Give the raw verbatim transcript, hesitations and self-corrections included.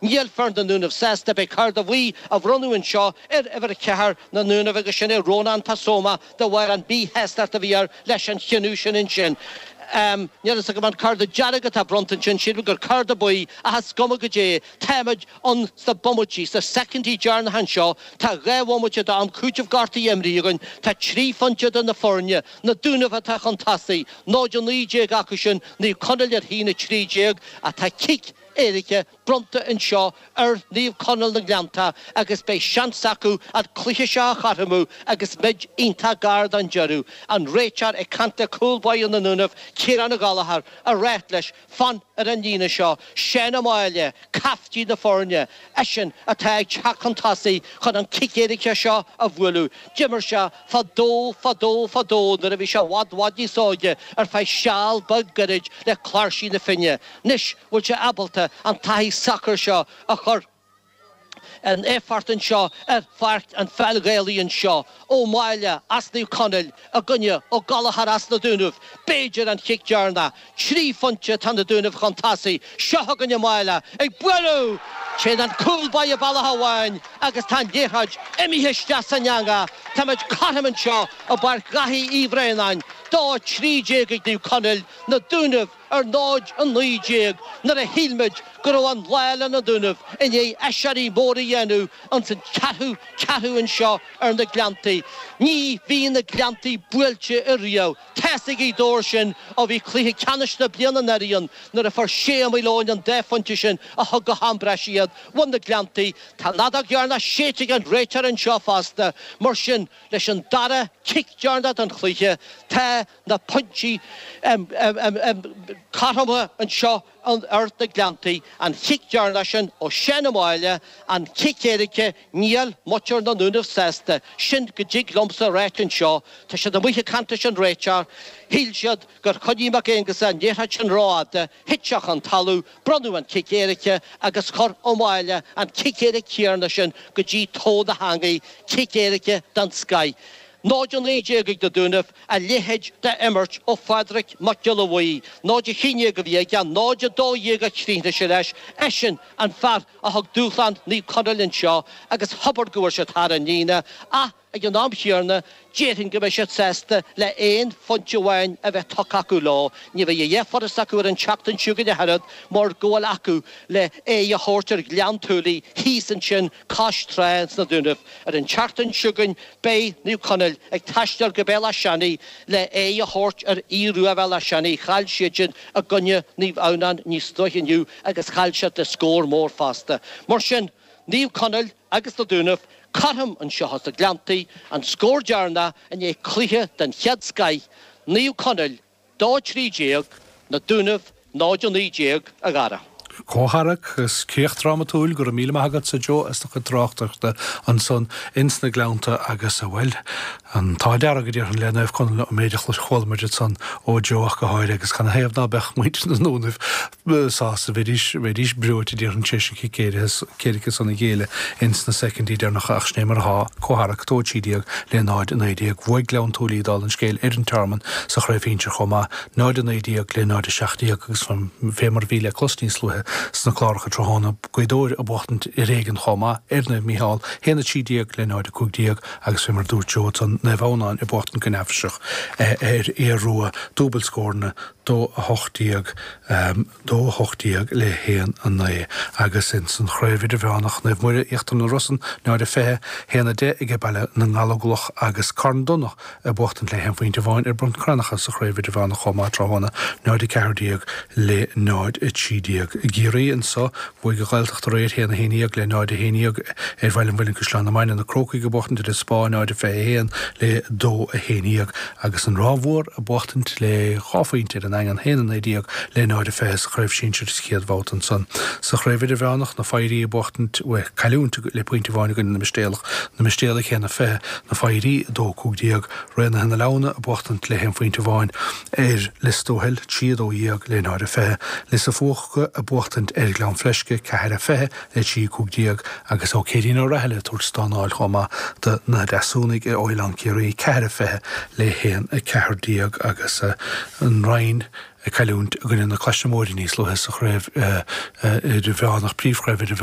Níl fear na nDúnaibh sásta beidh cárta buí á bhronnadh anseo ar uimhir a ceathair na nDúnaibh agus sin é Rónán Pasoma de bharr an mhíshástacht a bhí air leis an chinneadh sin ansin. Um, Níl a fhios agam an cárta dearg atá bronnta ansin sílim gur cárta buí ach is cuma goidé táimid ann sna bomaití sna soicindí deireanacha anseo tá dhá bhomaite d'am cúitimh gortaithe imrithe againn tá trí phointe idir na foirne na Dúnaibh atá chun tosaigh náid a naoi déag acu sin Naomh Conaill ar haon a trí déag atá cic éirice bronnta anseo ar Naomh Conaill na nGleannta agus beidh seans acu an cluiche seo a chothromú agus muid iontach gar don deireadh. An réiteoir ag caint le cúl báire na nDúnaibh Ciarán Ó Gallchóir ag rá leis fan ar an líne seo Seán Ó Máille caiftín na foirne eisean atá ag teacht chun tosaigh chun an cic éirice seo a bhualadh. D'imir sé fadó fadó fadó nuair a bhí sé i bhfad i bhfad níos óige ar feadh seal beag gairid le Cláirsigh na Finne. Anois bhfuil sé ábalta an taithí sacair seo a chur in éifeacht anseo ar pháirc an pheil Ghaelaí anseo Ó Máille as Naomh Conaill i gcoinne Ó Gallchóir as na Dúnaibh b'fhéidir an chic deireanach trí phointe tá na Dúnaibh chun tosaigh seo chugainn Ó Máille ag bualadh Téann an cúl báire bealach amháin agus tá an liathróid imithe isteach san eangach Táimid cothrom anseo i bPáirc Dhaithí Uí Bhraonáin dó trí déag ag Naomh Conaill na Dúnaibh ar náid a naoi déag nuair a shíl muid go raibh an lá le na Dúnaibh i ndiaidh aiséirí mór a dhéanamh ansan ceathrú ceathrú anseo ar na Gleanntaí. Ní bhíonn na Gleanntaí buailte ariamh. Tá a fhios ag Gaoth Dobhair sin ó bhí cluiche ceannais na bliana anuraidh ann nuair a fuair Shea Ó Maoileoin an dá phointe sin a thug go ham breise iad. Bhain na Gleanntaí tá an fheadóg dheireanach séidte ag an réiteoir anseo fosta mar sin leis an dara cic deireanach den chluiche tá na pointí cothrom anseo ar na Gleanntaí an chic deireanach sin ó Sheán Ó Máille an cic éirice níl muintir na nDúnaibh sásta sin go dtig liomsa ráit anseo Tá siad amuigh ag caint leis an réiteoir shíl siad gur choinnigh Mac Aonghusa an liathróid sin rófhada thit sé chun talamh bronnadh an cic éirice agus chuir Ó Máille an cic éirice céanna sin go dtí tó na heangaí cic éirice den scoth. Náid a naoi déag ag na Dúnaibh a leithéid d'imirt ó Phádraig Mac Giolla Bhuí, náid a haon déag a bhí aige náid a dó dhéag a chríochnaigh sé leis eisean an fear a thug dúshlán Naomh Conaill anseo agus abair go bhfuil siad thar an líne ach ag an am chéanna déarfainn go mbeidh siad sásta le aon phointe amháin a bheith tugtha acu leo. Ní bheidh a dhath furast acu ar an tseachtain seo chugainn ach oiread mar go bhfuil acu le aghaidh a thabhairt ar Ghleann tSúilí thíos ansin cois trá sna Dúnaibh. Ar an tseachtain seo chugainn beidh Naomh Conaill ag taisteal go Béal Átha Seanaidh le aghaidh a thabhairt ar Aodh Rua Bhéal Átha Seanaidh chaill siad sin i gcoinne Naomh Adhamhnáin níos luaithe inniu agus chaill siad le scór mór fosta. Mar sin Naomh Conaill agus na Dúnaibh cothrom anseo sna Gleanntaí an scór deireanach i ndiaidh cluiche den chéad scoth Naomh Conaill dó trí déag na Dúnaibh náid a naoi déag a Dhara. Comhtharrac is críoch drámatúil go raibh míle maith agatsa Joe as do chuid tráchtaireachta ansan ins na Gleannta agus a bhfuil an t-ádh dearg go déarfainn le Naomh Conaill an méid a chuala muid ansan ó Joe ach go háirithe agus canathaobh ná beadh muintir na nDúnaibh sásta bheidís bheidís breoite déarfainn tar éis an cic éirice san a ghéilleadh ins na soicindí deireanacha ach sin é mar atá Comhtharrac dó trí déag le náid a naoi déag bhuaigh Gleann tSúilí dála an scéil ar an Tearmann sa chraobh shinsir chomh maith náid a naoi déag le náid a seacht déag agus fé mar a bhí le clos níos luaithe sna cláracha tráthnóna Gaoth Dobhair ag buachtaint ar éigean chomh maith ar Naomh Mícheál haon a trí déag le náid a cúig déag agus fé mar a dúirt Joe ansan Naomh Adhamhnáin ag buachtaint go neafaiseach ar Aodh Rua dúbailt scóranna dó a hocht déag dó a hocht déag le haon a naoi agus ins an chraobh idirmheánach Naomh Muire Íochtar na Rosann náid a fiche haon a deich ag Baile na nGallóglach agus Carn Domhnach ag buachtaint le haon phointe amháin ar Bhun Cranncha sa chraobh idirmheánach chomh maith tráthnóna náid a ceathair déag le náid a trí déag i gCiarraí anseo bhuaigh an Ghaeltacht aréir haon a haon déag le náid a haon déag ar Bhaile an Mhuilinn Caisleán na Mainge na Crócaigh ag buachtaint ar an Spá náid a fiche haon le dó a haon déag agus an Ráth Mhór ag buachtaint le dhá phointe ar an Daingean haon a naoi déag le náid a fiche sa chraobh sinsir sa chéad bhabhta ansan sa chraobh idirmheánach na Foidhrí ag buachtaint cailliúint le pointe amháin i gcoinne na Mistéalach na Mistéalaigh haon a fiche na Foidhrí dó cúig déag Raonaithe na Leamhna ag buachtaint le haon phointe amháin ar Lios Tuathail trí a dó dhéag le náid a fiche Lios a' Phuca ag buachtaint ar Ghleann Fleisce ceathair a fiche le trí cúig déag agus Ó Céirín Ó Rathaille ag tabhairt stánáil chomh maith do na Deasúnaigh i Oileán Ciarraí ceathair a fiche le haon a ceathair déag agus an Rinn ag cailliúint i gcoinne na Claise Móire níos luaithe sa chraobh idirmheánach príomhchraobh idirmheánach.